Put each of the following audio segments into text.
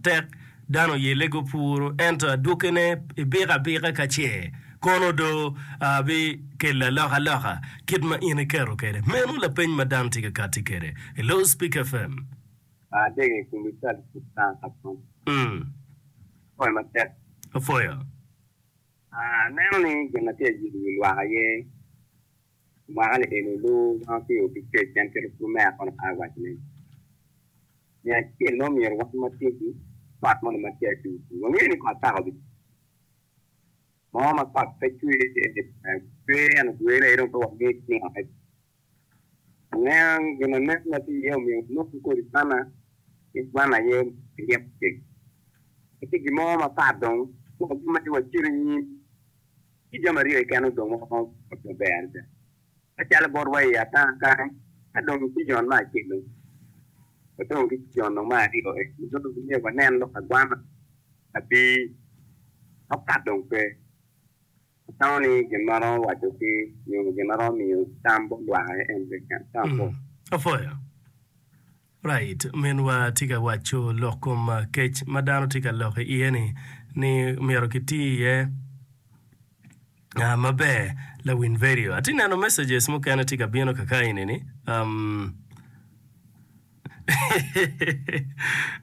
matek, dano oyelle gupuro ento adwokkine ibiko abika ka ce kono do bikelo alokaloka kit ma in iketo kwede. Meno lapeny ma dano tye ka katti kwede. Hello Speak FM. Adege i kom cal Apwoyo matek. Apwoyo. Aneno ni gin ma tye ka yelo wi lwak aye mwaka ni eni olu ma tye obi kec pien kit pur me akono pe awaco ni me acel ma omyero wan watim kot moni ma tye acuc wangeyo ni kot paka obi mo ma kot pe cwer cwer ento dwene aye dong pe wangeyo ningo Aneno gin ma nen ma tye iye omiyo wanongo kodi kwana ki kwan aye ryeko ceng. Pe tye gin mo mapat dong ma wamedde wacito i nyim. Tye jami aryo keken odong ma waromo pwonyo maber adada. Macalo botwa i ata kany, ka dong cijon me acel dong wadong ki cijon dong me aryo eni dong myero wanen lok agwana abir mapat dong pe. Atamo ni gin ma aromo waco ki nyo gin ma aromo miyo tam bot lwak aye en keken. Tam apwoyo. Apwoyo. Right, minwa tye ka waco lok kom kec ma dano tye ka lok iye ni ni myero ki ti iye maber lawiny vedio. Atye neno messages mukene tye ka bino kaka eni ni um,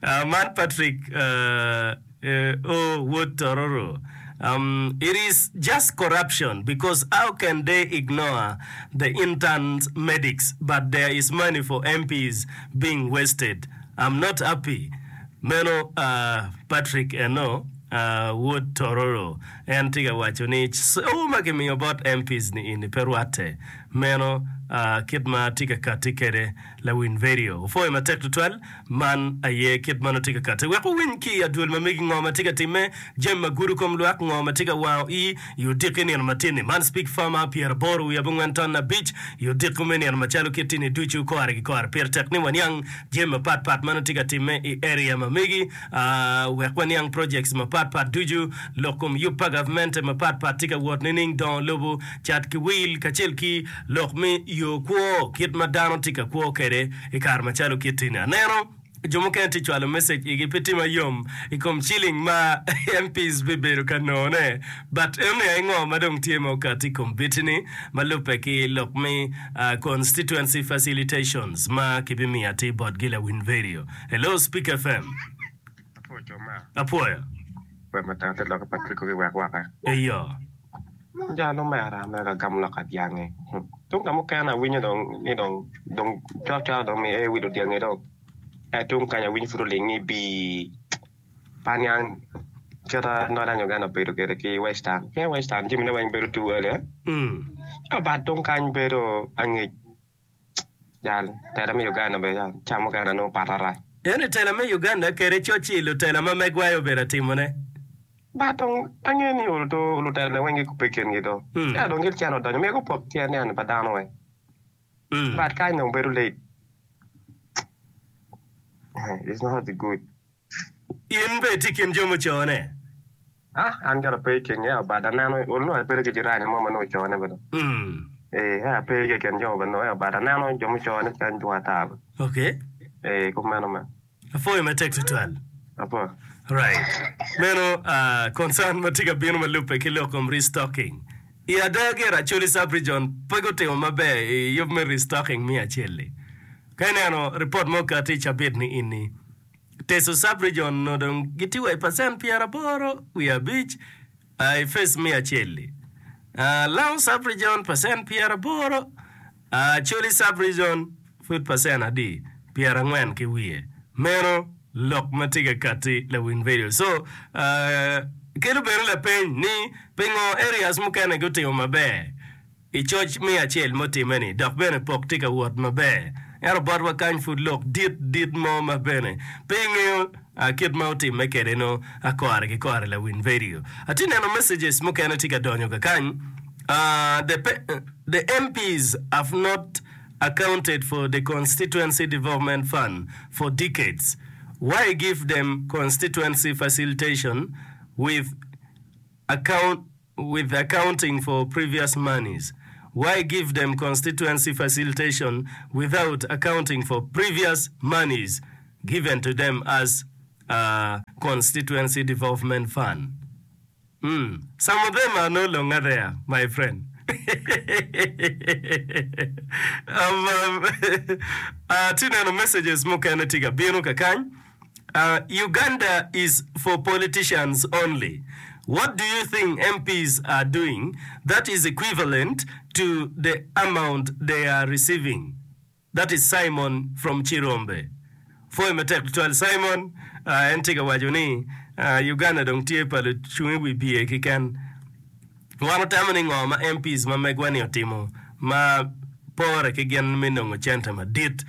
Man Patrick O wod Tororo It is just corruption because how can they ignore the interns medics but there is money for MPs being wasted I'm not happy Meno Patrick eno wod Tororo en tye ka waco ni co ma kimiyo bot MPs ni eni pe rwatte meno kit ma tye ka katti kwede Lawiny vedio opwoyo matek tutwal. Man aye kit ma nongo tye ka katte. Wek wuwiny ki i adwol ma megi ngo ma tye ka timme, jami ma gudo kom lwak, ngo ma tye ka wango i i odiko i nino matin-ni. Man Speak Farmer pyeraboro wiye abongwen ton abic i odiko me nino macalo kit-tini ducu kore ki kore. Pire tek ni waniang jami mapat pat ma nongo tye ka timme i area ma megi wek waniang projects mapat pat ducu, lok kom yub pa gavmente mapat pat tye ka wot nining, dongo lobo, cat ki wil kacel ki Lok me yo kwo, kit ma dano tye ka kwo kwede i kare macalo kit-ti-ni. Aneno jo mukene tye cwalo message igi pe tima yom i kom ciling ma MPs bibedo ka nongone. But enoni aye ngo ma dong tye ma okati i kom biti-ni ma lubbe ki lok me constituency facilitations ma kibimiyo atir botgi lawiny vedio. Hello Speak FM. Apwoyo. Wek ma tang te lokke Patrick obi wek waka. Eyo. Jal omera mere ka gamo lok ka dyangi. Tung ka mukene awinyo dong ni dong dong cwak cwak dong mi ee wilo dyangi dong. Ento tung kany awinyo pud oling ni bii pe aniang kita Northern Uganda obedo kwede ki Western. Pien Western jamine weng bedo too early eh. Ento but tung kany bedo angec. Jal, tela me Uganda bene jal, ca mukene nongo pat arac. Ento i tela me Uganda kede coc-ci lutela ma megwa aye obedo atimone. But dong angeyo ni olo lutela ne weng gikubbe i kingi do. Ento dong gin cen odonyo myero gupok tyen ni pa dano weng. But kany dong bedo late. It's not good. In bene itye i kin jo mucone? Ah, an gira pe i kingi, ento but aneno, ol nongo abedo ki jirani mo ma nongo ocone bene. Ee, ento ape i kin jo bene, ento but aneno jo mucone calo dwong ata bene. Okay. Ee, kumeno me. Apwoyo matek tutwal. Apwoyo. Right. Meno ah, concern ma tye ka bino ma lubbe ki lok kom restocking. I ada gire Acholi Sub-Region pe gutimo maber i yub me restocking me acel-li. Ka ineno ripot ma okati i cabit ni ini, Teso Sub-Region onongo dong gitye wa i pacent pyeraboro wiye abic i phase me acel-li. Lango Sub-Region pacent pyeraboro, Acholi Sub-Region pud pacent adi? Pyerangwen ki wiye. Meno lok ma tye ka katti lawiny radio. So, kelo bene lapeny ni pingo areas mukene gutimo maber? I coc me acel mutimme-ni dok bene pok tye ka wot maber, ento botwa kany pud lok dit dit mo ma bene pe ingeyo kit ma otimme kwede nongo kore ki kore lawiny vedio. Atye neno messages mukene tye ka donyo kakany, The the MPs have not accounted for the constituency development fund for decades, why give them constituency facilitation with account with accounting for previous monies? Why give them constituency facilitation without accounting for previous monies given to them as. Constituency Development Fund. Umm some of them are no longer there my friend. Um, atye neno messages mukene tye ka bino kakany. Uh, Uganda is for politicians only. What do you think MPs are doing that is equivalent to the amount they are receiving? That is Simon from Cirombe. Pwoyo matek tutwal Simon. En tye ka waco ni Uganda dong tye pa lucung i wi bye keken. Wan watamo ni ngo ma MPs ma megwa ni otimo ma pore ki gin me nongo cente madit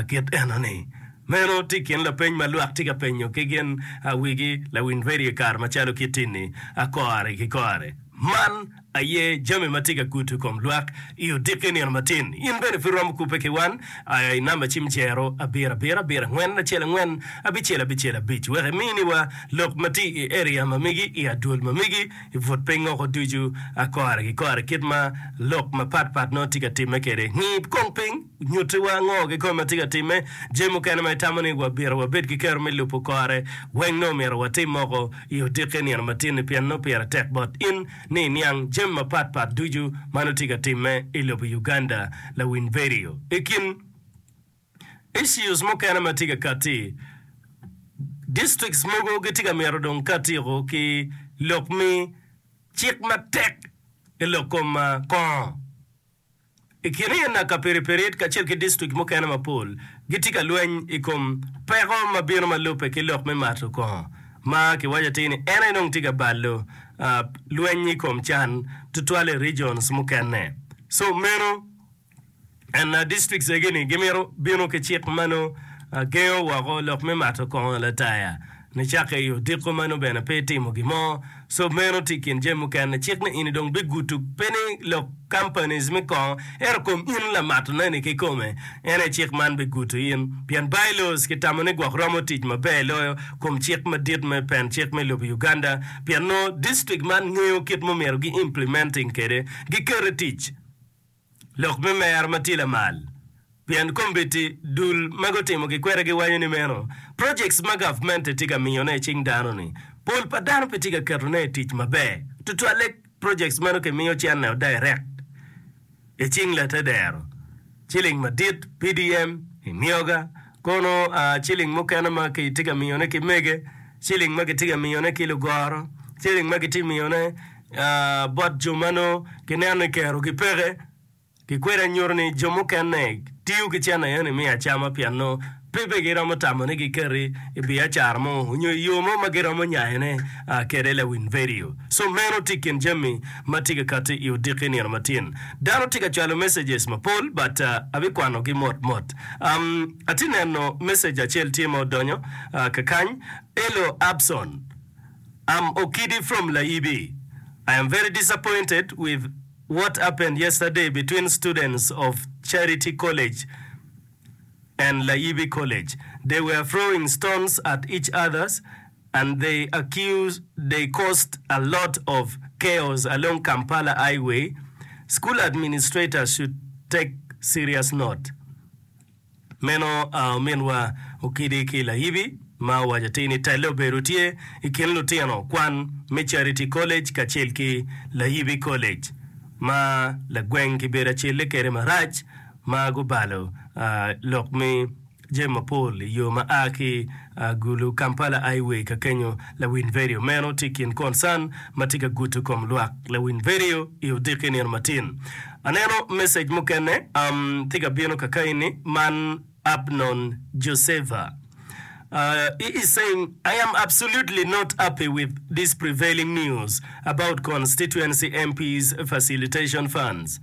kit eno ni? Meno tye i kin lapeny ma lwak tye ka penyo ki gin wigi lawiny radio i kare macalo kit tini kore ki kore. Man aye jami ma tye ka gudo kom lwak i odiki nino matin. In bene pud iromo kubbe ki wan i namba cim jero abiro abiro abiro angwen acel angwen abicel abicel abic wek iminiwa lok ma tye i area ma megi, i adwol ma megi, i but piny woko ducu kore ki kore kit ma lok mapat pat nongo tye ka timme kwede. Ngi kong piny, nyutiwa ngo kikome ma tye ka timme, jami mukene ma itamo ni wabito wabed ki kero me lubo kore weng nongo myero watim moko i odiki nino matin-ni pien nongo pire tek bot in ni iniang jami mapat pat ducu ma nongo tye ka timme i lobo Uganda. Lawiny vedio i kin issues mukene ma tye ka katti, districts mogo gitye ka mito dong katiko ki lok me cik matek i lok kom kongo. I kin ena Kapiripirit kacel ki distrik mukene mapol gitye ka lweny i kom peko ma bino ma lubbe ki lok me mato kongo ma kiwaco atir ni en aye dong tye ka balo lweny i kom can tutwal i regions mukene. So meno ena districts egi ni gimito bino ki cik ma nongo gengo woko lok me mato kongo lataya nicakke i odiko ma nongo bene pe itimo gin mo. So meno tye i kin jami mukene. Cik ni ini dong bigudo pe ni lok companies me kongo ento kom in lamato ne ni kikome en aye cik man bigudo in pien bylaws ki tamo ni gwok romo tic maber loyo kom cik madit me pen cik me lobo Uganda pien nongo district man ngeyo kit ma omyero gi implementing kede gi keto i tic. Lok me mer ma tye lamal pien kombeddi dul ma gutimo ki kwede giwaco ni meno projects ma gavmente tye ka miyone i cing dano ni pol pa dano pe tye ka ketone i tic maber tutwalle projects meno kimiyo cene direct i cing latedero ciling madit, PDM, imyoga kono ciling mukene ma kitye ka miyone ki mege ciling ma kitye ka miyone ki lugoro ciling ma kitye miyone bot jo ma nongo gineno ni kerogi peke, gikweda nyuto ni jo mukene tiyo ki cente eni me acama pien nongo pe bene giromo tamo ni giketi i biacara mo nyo i yo mo ma giromo nyayone kwede lawiny vedio. So meno tye i kin jami ma tye ka kati i odiki nino matin. Dano tye ka cwalo messages mapol but abikwanogi mot mot. Atye neno message acel tye ma odonyo kakany, Elo Abson. Am Okidi from Layibi. I am very disappointed with what happened yesterday between students of Charity College and Layibi College. They were throwing stones at each others and they accuse they caused a lot of chaos along Kampala highway. School administrators should take serious note. Meno ominwa Okidi ki Layibi ma owaco atir ni telle obedo tye i kin lutino kwan me Charity College kacel ki Layibi College ma lagweng kibedo acelle kede marac ma gubalo lok me jami mapol i yo ma a ki Gulu Kampala Highway ka kenyo lawiny vedio. Meno tye i kin concern ma tye ka gudo kom lwak lawiny vedio i odiki nino matin. Aneno message mukene tye ka bino kakaini man Abnon Joseva. He is saying, I am absolutely not happy with this prevailing news about constituency MPs facilitation funds.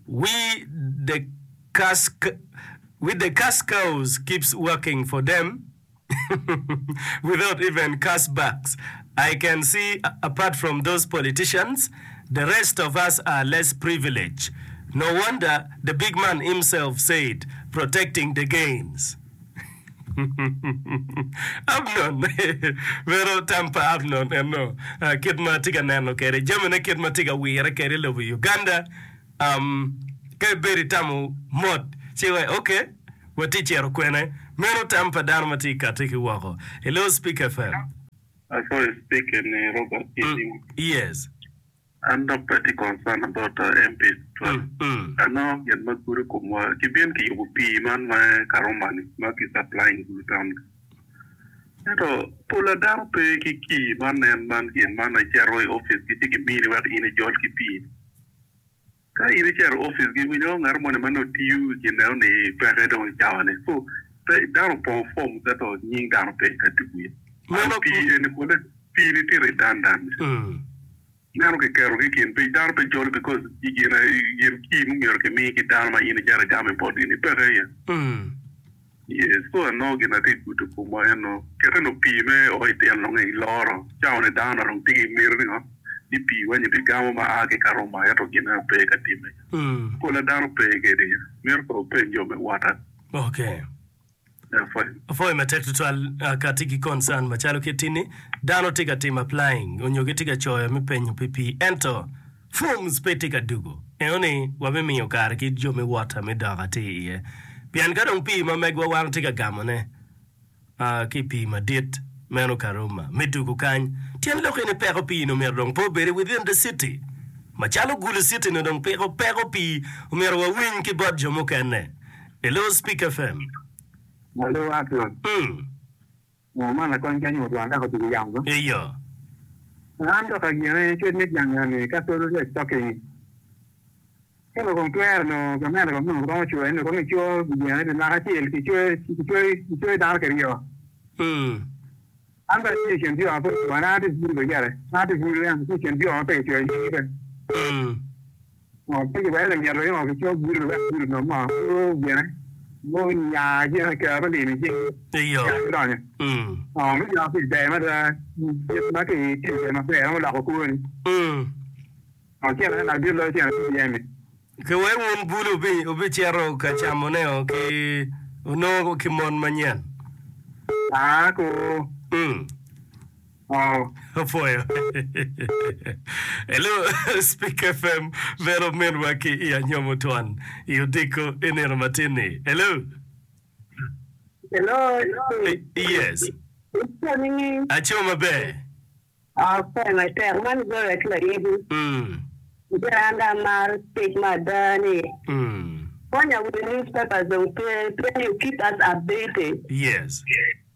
We the cash, we the cash cows keeps working for them without even cash backs. I can see apart from those politicians, the rest of us are less privileged. No wonder the big man himself said, protecting the gains. Amnon, meno tam pa Amnon eno, kit ma atye ka neno kwede jamine, kit ma tye ka wire kwede i lobo Uganda. Ka ibedo itamo mot, ci iwaci, ok, watye cito kwene? Meno tam pa dano ma tye ka kati ki woko. Hello Speak FM. Apwoyo speaker ni Robert Kitimo. Yes. An dok pe atye concern about MPs tutwal. Anongo gin ma gudo komwa kibin kiyubo pii man me Karuma ni ma ki supplying Gulu town ni. Ento pola dano pe ki key man en man gin man ma icito i office gi ci gimini wek in ijol ki pii ni. Ka in icito i opic gi winyo ngat moni ma nongo tiyo i gin eno ni peke dong i cawa ni so pe dano opongo form ento nying dano pe ka tuku iye. Meno Pii eni pole pii ni tye redundant. Meno kiketo ki kin piny dano pe jolo because i gin gin key mumyero kimi ki dano ma in icito igamo i botgi ni peke iye. Yes, so anongo gin atye gudo komwa eno kete nongo pii me o i tyen nongo i loro cawa ni dano dong tye ki miti ni ngo ni pii weng ibi gamo ma a ki Karuma ento gin eno pe ka time pola dano pe kede mito kono wupeny jo me water. Okay. Apwoyo. Apwoyo matek tutwal ka atye ki concern macalo kit tini dano tye ka timo applying onyo gitye ka coyo me penyo pi pii ento Forms pe tye ka dugo. Eno ni wabimiyo kare ki jo me water me dok atir iye. Pien ka dong pii ma megwa wan watye ka gamone ki i pii madit meno Karuma me dugo kany, tyen lok eni peko pii ni omyero dong pe obed within the city. Macalo Gulu city ni dong piko peko pii omyero wawiny ki bot jo mukene. Hello Speak FM. Hello Atwon. Mm. Ngo man lakony kany otwang dok otugo yamo ba? Iyo. An dok agene cwec me jang eni ka solo lec talking. Ka nongo kong twero nongo gamente kong nongo romo coyo ni kong ico gene pi mwaka acel kicoyo kicoyo dano kiryo. An bene atye i kin jo ma pe ocoyo an atye i bur gire an atye i bur atye i kin jo ma pe kicoyo nyingi bene. Pe kiweko lamyero ni ngo kico gudo wek gudo onong ngo gudo gine gunya gine kero me limo i cing Iyo. nya gudonyo. Me jo pi ber mada kit ma ki tiyo kwede maber romo loko kwoni. Cene ne lak dit loyo cene CBM ni. Ki wek wun bulu wubicito ka camone o ki onongo ki mon manyen. Aa ku. Apwoyo. Hello, Speak FM, bene ominwa ki i Anyomo Twon i odiko i nino matin-ni. Hello. Hello. Yes. Ico nining? Aco maber. Ape matek. Man Gloria ki Layebi. Gire an dong amaro tic me ada ni. Konya with newspapers dong pe pien you keep us updated. Yes.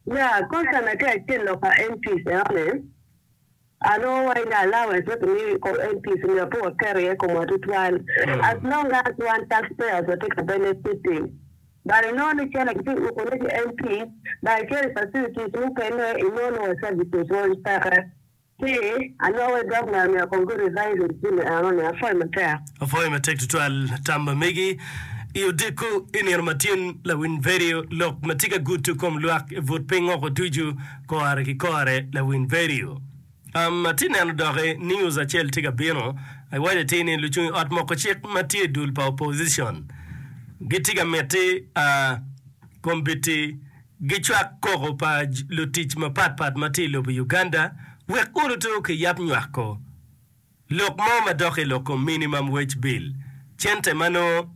Ya, concern na tye acel lok pa MPs eno ni, anongo wa ina allowance ma kimiyo i kom MPs myero pe waket iye komwa tutwal as long as wan tax payers watye ka benefiting but inongo ni cene kitye ka uko ne ki MPs but icito i facilities mukene inongo ni wa services weng peke. Ci anongo wai governor myero kong gu revise jami eno ni. Apwoyo matek. Apwoyo matek tutwal tam ma megi i odiko i nino ma tin lawiny vedio lok ma tye ka gudo kom lwak i but piny oko ducu kore ki kore lawiny vedio um, atye neno doki news acel tye ka bino iwaco atir ni lucung i ot moko cik ma tye i dul pa opposition gitye ka miti uh, kombiti Gicwak koko pa lutic mapatpat ma tye i lobo Uganda wek oluto ki yab nywako lok mo madok i lok kom minimum wage bill, cente ma nongo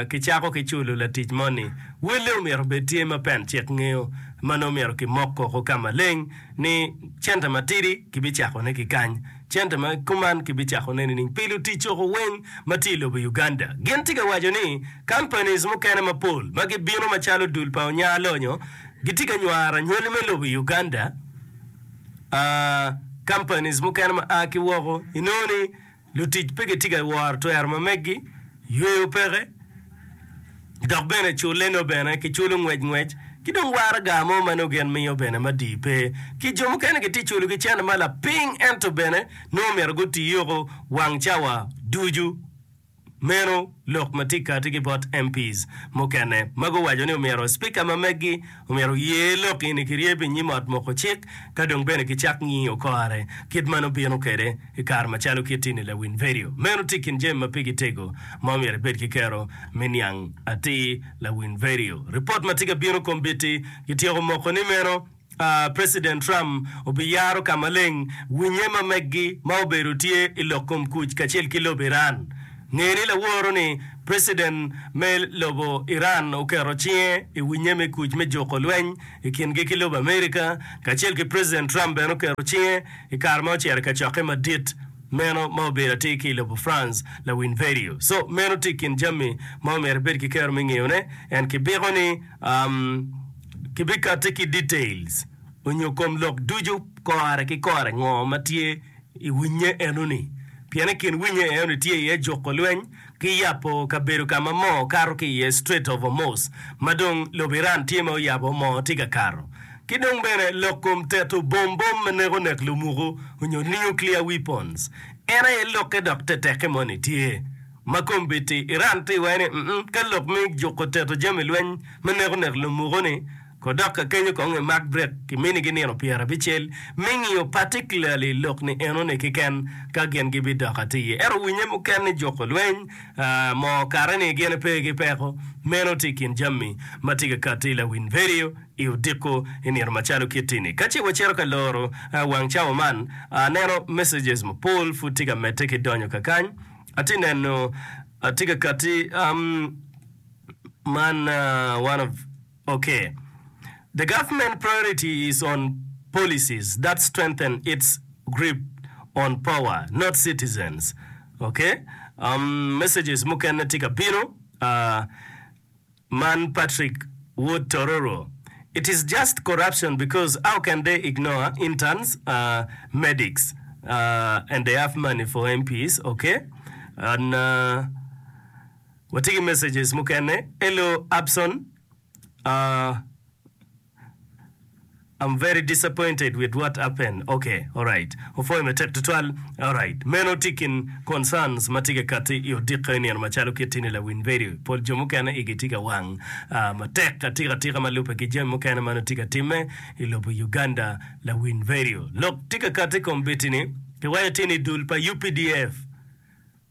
kicako ki culo latic moni. Welle omyero obed tye ma pen cik ngeyo ma nongo myero kimok koko ka maleng ni cente matidi kibicakone ki kany, cente ma kuman kibicakone nining pi lutic coko weng ma tye i lobo Uganda. Gin tye ka waco ni Companies mukene mapol ma gibino macalo dul pa onya lonyo gitye ka nywaro anywali me lobo i Uganda. Companies mukene ma a ki woko inongo ni lutic pe gitye ka woro twero ma meggi, yweyo peke, dok bene culle nongo bene kiculo ngwec ngwec ki dong waraga mo ma nongo gin miyo bene madii pe. Ki jo mukene gitye culo ki cente ma lapiny ento bene nongo myero guti yoko wang cawa ducu. Meno lok ma tye kati ki bot MPs mukene ma guwaco ni omyero Speaker ma meggi omyero oye lok eni kiryeb i nyim ot moko cik ka dong bene kicak ngiyo kore kit ma nongo bino kwede i kare macalo kit ini lawiny vedio. Meno tye i kin jami ma pigi tego ma omyero ibed ki kero me niang atir lawiny vedio. Ripot ma tye ka bino kombeddi kityeko moko ni meno President Trump obiyaro ka maleng winye ma meggi ma obedo tye i lok kom kuc kacel ki lobo Iran. Nge ni laworo ni President me lobo Iran oketo cinge i winye me kuc me juko lweny i kingi ki lobo America kacel ki President Trump bene oketo cinge i kare ma ocito i kacokke madit meno ma obedo atir ki i lobo France lawiny vedio. So meno tye i kin jami ma omyero ibed ki kero me ngeyone and kibiko ni um, kibikati ki details onyo kom lok ducu kore ki kore ngo ma tye i winye enoni pien i kin winye enoni tye iye juko lweny ki yabo kabedo ka ma moo kato ki iye, Strait of Hormuz, ma dong lobo Iran tye ma oyabo moo tye ka kato. Ki dong bene lok kom teto bom bom ma neko nek lumuku onyo nuclear weapons en aye lokke dok tetekke moni tye ma kombeddi Iran tye iwaci ni mm ka lok me juko teto jami lweny ma neko nek lumuku ni Kodok ka kenyo kong imak brek kiminigi nino pyerabicel me ngiyo particularly lok ni enoni keken ka gin gibidok atir iye. Ento winye muken ni juko lweny moo kare ni gin pe ki peko. Meno tye i kin jami ma tye ka kati lawiny vedio i odiko i nino macalo kit-ti-ni. Ka ce wacito ka loro wang cawa man, aneno messages mapol pud tye ka medde ki donyo kakany. Atye neno tye ka kati man one of Ok. The government priority is on policies that strengthen its grip on power, not citizens. Ok. Um, messages mukene tye ka bino. Uh, man Patrick Wod Tororo. It is just corruption because how can they ignore interns, uh, medics, uh, and they have money for MPs. Ok. And, uh, Watye ki messages mukene. Hello Abson, uh, I'm very disappointed with what happened. Okay, alright. Opwoyo matek tutwal. Alright. Meno tye kin concerns ma tye ka kati i odiko i nino macalo kit-ti-ni lawiny vedio. Pol jo mukene igi tye ka wang uh, matek atika atika ma lubbe ki jami mukene ma nongo tye ka timme i lobo Uganda lawiny vedio. Lok tye ka kati i kom biti-ni, kiwaco tye ni dul pa UPDF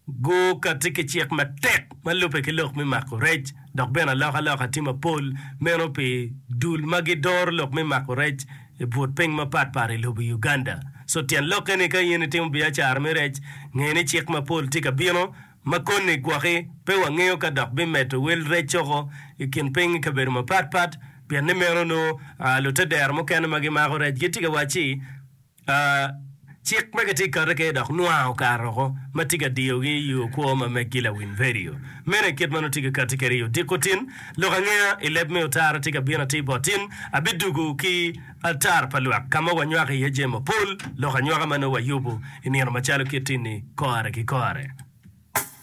Gukatti ki cik matek ma lubbe ki lok me mako rec, dok bene alokaloka tye mapol meno pi dul ma gidoro lok me mako rec i but piny mapat pat i lobo Uganda. So tyen lokke ni ka in itimo biacara me rec, nge ni cik mapol tye ka bino ma koni gwoki pe wangeyo ka dok bimedo wel rec coko i kin piny i kabedo mapat pat pien ni meno nongo lutedero mukene ma gimako rec gitye ka wacci Cik ma kitye ka kati kwede dok nwango kare woko ma tye ka diyogi i yo kwo ma meggi lawiny vedio. Meno aye kit ma nongo tye ka kati kwede i odiko tin. Lok angeya i leb me otara tye ka bino atir bot tin. Abidugo ki altar pa lwak ka ma wanywako iye jami mapol, lok anywaka ma nongo wayubo i nino macalo kit tin-ni kore ki kore.